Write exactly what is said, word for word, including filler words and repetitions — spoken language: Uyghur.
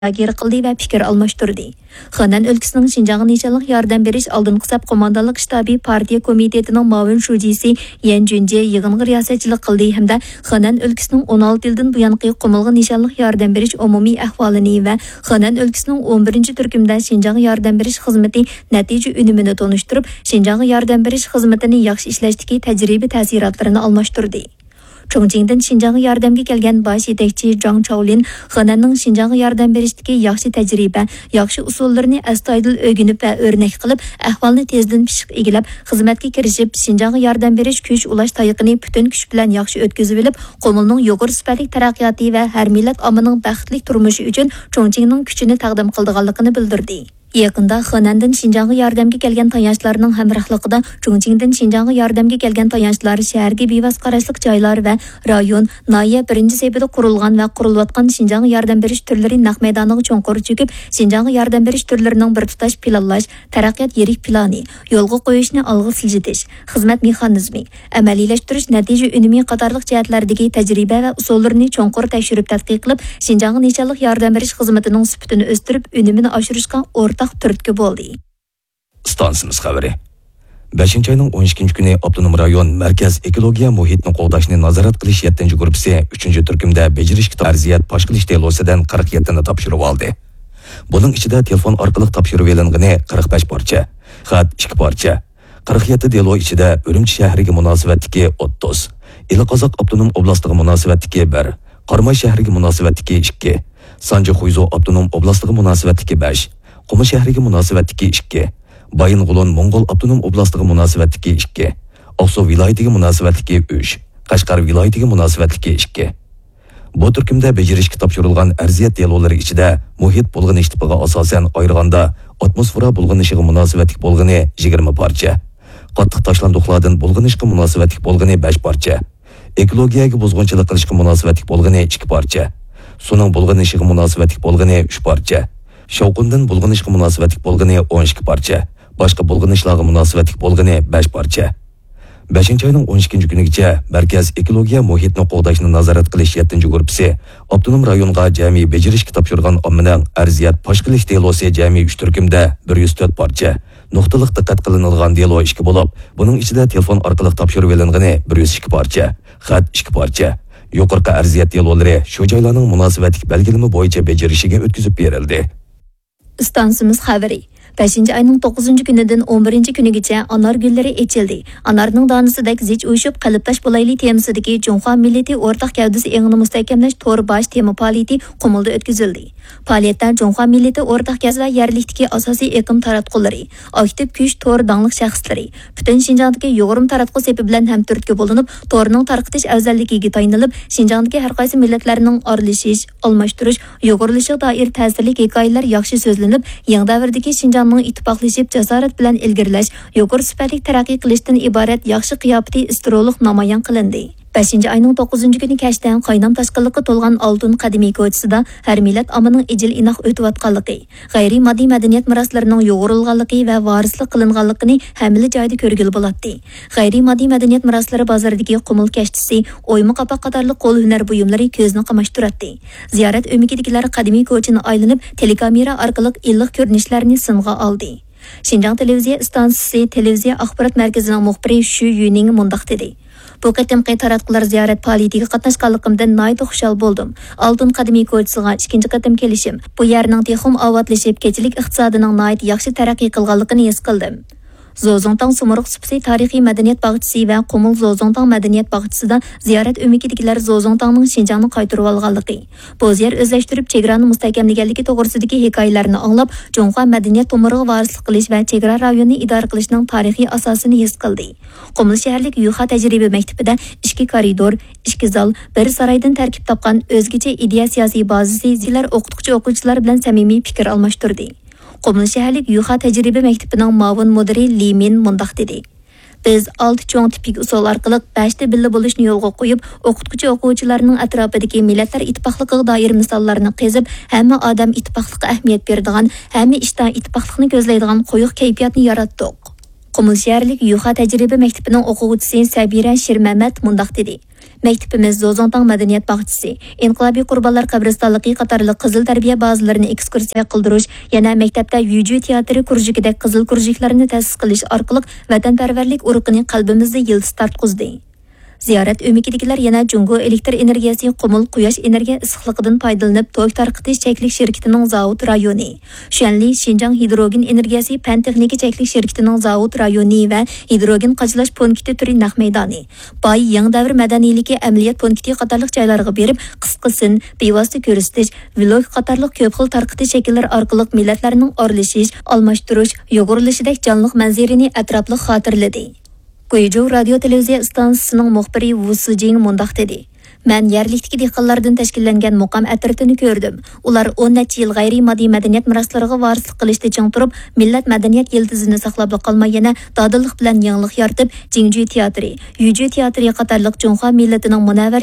مۇزاكىرە قىلدى ۋە پىكىر ئالماشتۇردى. خېنەن ئۆلكىسىنىڭ شىنجاڭغا نىشانلىق ياردەم بېرىش ئالدىنقى سەپ قوماندانلىق شتابى پارتىيە كومىتېتىنىڭ مۇئاۋىن شۇجىسى يەن جۈنجې يىغىنغا رىياسەتچىلىك قىلدى ھەمدە خېنەن ئۆلكىسىنىڭ ئون ئالتە يىلدىن بۇيانقى قۇمۇلغا نىشانلىق ياردەم بېرىش ئومۇمىي ئەھۋالىنى ۋە خېنەن ئۆلكىسىنىڭ ئون بىرىنچى تۈركۈمدە شىنجاڭغا ياردەم بېرىش خىزمىتى نەتىجە ئۈنۈمىنى تونۇشتۇرۇپ، شىنجاڭغا ياردەم بېرىش خىزمىتىنى ياخشى ئىشلەشتىكى تەجرىبە تەسىراتلىرىنى ئالماشتۇردى. چۇڭچىڭدىن شىنجاڭغا ياردەمگە كەلگەن باش يېتەكچى جاڭ چاۋلىن خېنەننىڭ شىنجاڭغا ياردەم بېرىشتىكى ياخشى تەجرىبە، ياخشى ئۇسۇللىرىنى ئەستايىدىل ئۆگىنىپ ۋە ئۆرنەك قىلىپ، ئەھۋالنى تېزدىن پىششىق ئىگىلەپ، خىزمەتكە كىرىشىپ، شىنجاڭغا ياردەم بېرىش كۈچ ئۇلاش تايىقىنى پۈتۈن كۈچ بىلەن ياخشى ئۆتكۈزۈۋېلىپ، قۇمۇلنىڭ يۇقىرى سۈپەتلىك تەرەققىياتى ۋە ھەر مىللەت ئاممىنىڭ بەختلىك تۇرمۇشى ئۈچۈن چۇڭچىڭنىڭ كۈچىنى تەقدىم قىلىدىغانلىقىنى بىلدۈردى. يېقىندا خېنەندىن شىنجاڭغا ياردەمگە كەلگەن تايانچلارنىڭ ھەمراھلىقىدا چۇڭچىڭدىن شىنجاڭغا ياردەمگە كەلگەن تايانچلار شەھەرگە بىۋاسىتە قاراشلىق جايلار ۋە رايون، ناھىيە بىرىنچى سېپىدا قۇرۇلغان ۋە قۇرۇلۇۋاتقان شىنجاڭغا ياردەم بېرىش تۈرلىرى نەق مەيدانىغا چوڭقۇر چۆكۈپ، شىنجاڭغا ياردەم بېرىش تۈرلىرىنىڭ بىر تۇتاش پىلانلاش، تەرەققىيات يىرىك پىلانى، يولغا قويۇشنى ئالغا سىلجىتىش، خىزمەت مېخانىزمى، ئەمەلىيلەشتۈرۈش نەتىجە ئۈنۈمى قاتارلىق جەھەتلەردىكى تەجرىبە ۋە ئۇسۇللىرىنى چوڭقۇر تەكشۈرۈپ تەتقىق قىلىپ، شىنجاڭغا نىشانلىق ياردەم بېرىش خىزمىتىنىڭ سۈپىتىنى ئۆستۈرۈپ، ئۈنۈمىنى ئاشۇرۇشقا ئورتاق تۈرتكە بولدى. ئىستانسىمىز خەۋىرى. بەشىنچى ئاينىڭ ئون ئىككىنچى كۈنى ئاپتونوم رايون مەركەز ئېكولوگىيە مۇھىتنى قوغداشنى نازارەت قىلىش يەتتىنچى گۇرۇپپىسى ئۈچىنچى تۈركۈمدە بېجىرىشكە ئەرزىيەت پاش قىلىش دېلوسىدىن قىرىق يەتتىنى تاپشۇرۇۋالدى. بۇنىڭ ئىچىدە تېلېفون ئارقىلىق تاپشۇرۇۋېلىنغىنى قىرىق بەش پارچە، خەت ئىككى پارچە، قىرىق يەتتە دېلو ئىچىدە ئۈرۈمچى شەھىرىگە مۇناسىۋەتلىكى ئوتتۇز، ئىلى قازاق ئاپتونوم ئوبلاستىغا مۇناسىۋەتلىكى بىر، قاراماي شەھىرىگە مۇناسىۋەتلىكى ئىككى، سانجى خۇيزۇ ئاپتونوم ئوبلاستىغا مۇناسىۋەتلىكى بەش، قۇمۇل شەھىرىگە مۇناسىۋەتلىكى ئىككى، بايىنغولىن موڭغۇل ئاپتونوم ئوبلاستىغا مۇناسىۋەتلىكى ئىككى، ئاقسۇ ۋىلايىتىگە مۇناسىۋەتلىكى ئۈچ، قەشقەر ۋىلايىتىگە مۇناسىۋەتلىكى ئىككى. بۇ تۈركۈمدە بېجىرىشكە تاپشۇرۇلغان ئەرزىيەت دېلولىرى ئىچىدە مۇھىت بۇلغىنىش تىپىغا ئاساسەن ئايرىغاندا، ئاتموسفېرا بۇلغىنىشىغا مۇناسىۋەتلىك بولغىنى يىگىرمە پارچە، قاتتىق تاشلاندۇقلاردىن بۇلغىنىشقا مۇناسىۋەتلىك بولغىنى بەش پارچە، ئېكولوگىيەگە بۇزغۇنچىلىق قىلىشقا مۇناسىۋەتلىك بولغىنى ئىككى پارچە، سۇنىڭ بۇلغىنىشىغا مۇناسىۋەتلىك بولغىنى ئۈچ پارچە، شاۋقۇندىن بۇلغىنىشقا مۇناسىۋەتلىك بولغىنى ئون ئىككى پارچە، باشقا بۇلغىنىشلارغا مۇناسىۋەتلىك بولغىنى بەش پارچە. بەشىنچى ئاينىڭ ئون ئىككىنچى كۈنىگىچە مەركەز ئېكولوگىيە مۇھىتنى قوغداشنى نازارەت قىلىش يەتتىنچى گۇرۇپپىسى ئاپتونوم رايونغا جەمئىي بېجىرىشكە تاپشۇرغان ئاممىنىڭ ئەرزىيەت پاش قىلىش دېلوسى جەمئىي ئۈچ تۈركۈمدە بىر يۈز تۆت پارچە، نۇقتىلىق دىققەت قىلىنىدىغان دېلو ئىككى بولۇپ، بۇنىڭ ئىچىدە تېلېفون ئارقىلىق تاپشۇرۇۋېلىنغىنى بىر يۈز ئىككى پارچە، خەت ئىككى پارچە. يۇقىرىقى ئەرزىيەت دېلولىرى شۇ جايلارنىڭ مۇناسىۋەتلىك بەلگىلىمە بويىچە بېجىرىشىگە ئۆتكۈزۈپ بېرىلدى. ئىستانسىمىز خەۋىرى. بەشىنچى ئاينىڭ توققۇزىنچى كۈنىدىن ئون بىرىنچى كۈنىگىچە ئانار گۈللىرى ئېچىلدى. ئانارنىڭ دانىسىدەك زىچ ئۇيۇشۇپ، قەلبداش بولايلى تېمىسىدىكى جۇڭخۇا مىللىتى ئورتاق گەۋدىسى ئېڭىنى مۇستەھكەملەش تور باش تېما پائالىيىتى قۇمۇلدا ئۆتكۈزۈلدى. پائالىيەتتە جۇڭخۇا مىللىتى ئورتاق گەۋدىسى ۋە يەرلىكتىكى ئاساسىي ئېقىم تاراتقۇلىرى، ئاكتىپ كۈچ تور داڭلىق شەخسلىرى، پۈتۈن شىنجاڭدىكى يۇغۇرما تاراتقۇ سېپى بىلەن ھەمتۈرتكە بولۇنۇپ، تورنىڭ تارقىتىش ئەۋزەللىكىگە تايىنىلىپ، شىنجاڭدىكى ھەر قايسى مىللەتلەرنىڭ ئارىلىشىش، ئالماشتۇرۇش، يۇغۇرۇلۇشىغا دائىر تەسىرلىك ھېكايىلەر ياخشى سۆزلىنىپ، يېڭى دەۋردىكى شىنجاڭنىڭ ئىتتىپاقلىشىپ، جاسارەت بىلەن ئىلگىرىلەش، يۇقىرى سۈپەتلىك تەرەققىي قىلىشتىن ئىبارەت ياخشى قىياپىتى ئىسترولۇق نامايان قىلىندى. بەشىنچى ئاينىڭ توققۇزىنچى كۈنى كەچتە قاينام تاشقىنلىققا تولغان ئالتۇن قەدىمىي كوچىسىدا ھەر مىللەت ئاممىنىڭ ئىجىل-ئىناق ئۆتۈۋاتقانلىقى، غەيرىي ماددىي مەدەنىيەت مىراسلىرىنىڭ يۇغۇرۇلغانلىقى ۋە ۋارىسلىق قىلىنغانلىقىنى ھەممىلا جايدا كۆرگىلى بولاتتى. غەيرىي ماددىي مەدەنىيەت مىراسلىرى بازىرىدىكى قۇمۇل كەشتىسى، ئويما قاپاق قاتارلىق قول ھۈنەر بۇيۇملىرى كۆزنى قاماشتۇراتتى. زىيارەت ئۆمىكىدىكىلەر قەدىمىي كوچىنى ئايلىنىپ، تېلېكامېرا ئارقىلىق ئىللىق كۆرۈنۈشلەرنى سىنغا ئالدى. شىنجاڭ تېلېۋىزىيە ئىستانسىسى تېلېۋىزىيە ئاخبارات مەركىزىنىڭ مۇخبىرى شۈ يۈنىڭ مۇنداق دېدى: بۇ قېتىمقى تاراتقۇلار زىيارەت پائالىيىتىگە قاتناشقانلىقىمدىن ناھايىتى خۇشال بولدۇم. ئالتۇن قەدىمىي كوچىسىغا ئىككىنچى قېتىم كېلىشىم، بۇ يەرنىڭ تېخىمۇ ئاۋاتلىشىپ، كېچىلىك ئىقتىسادىنىڭ ناھايىتى ياخشى تەرەققىي قىلغانلىقىنى ھېس قىلدىم. زوزۇڭتاڭ سۇمرۇق سۇپىسى تارىخىي مەدەنىيەت باغچىسى ۋە قۇمۇل زوزۇڭتاڭ مەدەنىيەت باغچىسىدا زىيارەت ئۆمىكىدىكىلەر زوزۇڭتاڭنىڭ شىنجاڭنى قايتۇرۇۋالغانلىقى، بوز يەر ئۆزلەشتۈرۈپ، چېگرانى مۇستەھكەملىگەنلىكى توغرىسىدىكى ھېكايىلەرنى ئاڭلاپ، جۇڭخۇا مەدەنىيەت تومۇرىغا ۋارىسلىق قىلىش ۋە چېگرا رايونىنى ئىدارە قىلىشنىڭ تارىخىي ئاساسىنى ھېس قىلدى. قۇمۇل شەھەرلىك يۈخا تەجرىبە مەكتىپىدە ئىككى كارىدور، ئىككى زال، بىر سارايدىن تەركىب تاپقان ئۆزگىچە ئىدىيە سىياسىي بازىسى زىيىلەر ئوقۇتقۇچى-ئوقۇغۇچىلار بىلەن سەمىمىي پىكىر ئالماشتۇردى. قۇمۇل شەھەرلىك يۈخا تەجرىبە مەكتىپىنىڭ مۇئاۋىن مۇدىرى لى مىن مۇنداق دېدى: بىز ئالتە چوڭ تىپىك ئۇسۇل ئارقىلىق بەشتە بىللە بولۇشنى يولغا قويۇپ، ئوقۇتقۇچى-ئوقۇغۇچىلارنىڭ ئەتراپىدىكى مىللەتلەر ئىتتىپاقلىقىغا دائىر مىساللارنى قېزىپ، ھەممە ئادەم ئىتتىپاقلىققا ئەھمىيەت بېرىدىغان، ھەممە ئىشتا ئىتتىپاقلىقنى كۆزلەيدىغان قويۇق كەيپىياتنى ياراتتۇق. قۇمۇل شەھەرلىك يۈخا تەجرىبە مەكتىپىنىڭ ئوقۇغۇچىسى سەبىرە شىرمەمەت مۇنداق دېدى: مەكتىپىمىز زوزۇڭتاڭ مەدەنىيەت باغچىسى، ئىنقىلابىي قۇربانلار قەبرىستانلىقى قاتارلىق قىزىل تەربىيە بازىلىرىنى ئېكسكۇرسىيە قىلدۇرۇش، يەنە مەكتەپتە يۈجۈ تىياتىرى كۇرژۇكىدەك قىزىل كۇرژۇكلارنى تەسىس قىلىش ئارقىلىق ۋەتەنپەرۋەرلىك ئۇرۇقىنى قەلبىمىزدە يىلتىز تارتقۇزدى. زىيارەت ئۆمىكىدىكىلەر يەنە جۇڭگو ئېلېكتىر ئېنېرگىيەسى قۇمۇل قۇياش ئېنېرگىيە ئىسسىقلىقىدىن پايدىلىنىپ توك تارقىتىش چەكلىك شىركىتىنىڭ زاۋۇت رايونى، شۈەنلى شىنجاڭ ھىدروگېن ئېنېرگىيەسى پەن تېخنىكا چەكلىك شىركىتىنىڭ زاۋۇت رايونى ۋە ھىدروگېن قاچىلاش پونكىتى تۈرى نەق مەيدانى، باي يېڭى دەۋر مەدەنىيلىكى ئەمەلىيەت پونكىتى قاتارلىق جايلارغا بېرىپ، قىسقا سىن، بىۋاسىتە كۆرسىتىش، ۋلوگ قاتارلىق كۆپ خىل تارقىتىش شەكىللىرى ئارقىلىق مىللەتلەرنىڭ ئارىلىشىش، ئالماشتۇرۇش، يۇغۇرۇلۇشىدەك جانلىق مەنزىرىنى ئەتراپلىق خاتىرىلىدى. گۇيجۇ رادىيو تېلېۋىزىيە ئىستانسىسىنىڭ مۇخبىرى ۋۇ سىجىڭ مۇنداق دېدى: مەن يەرلىكتىكى دېھقانلاردىن تەشكىللەنگەن مۇقام ئەترىتىنى كۆردۈم. ئۇلار ئون نەچچە يىل غەيرىي ماددىي مەدەنىيەت مىراسلىرىغا ۋارىسلىق قىلىشتا چىڭ تۇرۇپ، مىللەت مەدەنىيەت يىلتىزىنى ساقلاپلا قالماي، يەنە دادىللىق بىلەن يېڭىلىق يارىتىپ، جىڭجۈ تىياتىرى، يۈجۈ تىياتىرى قاتارلىق جۇڭخۇا مىللىتىنىڭ مۇنەۋۋەر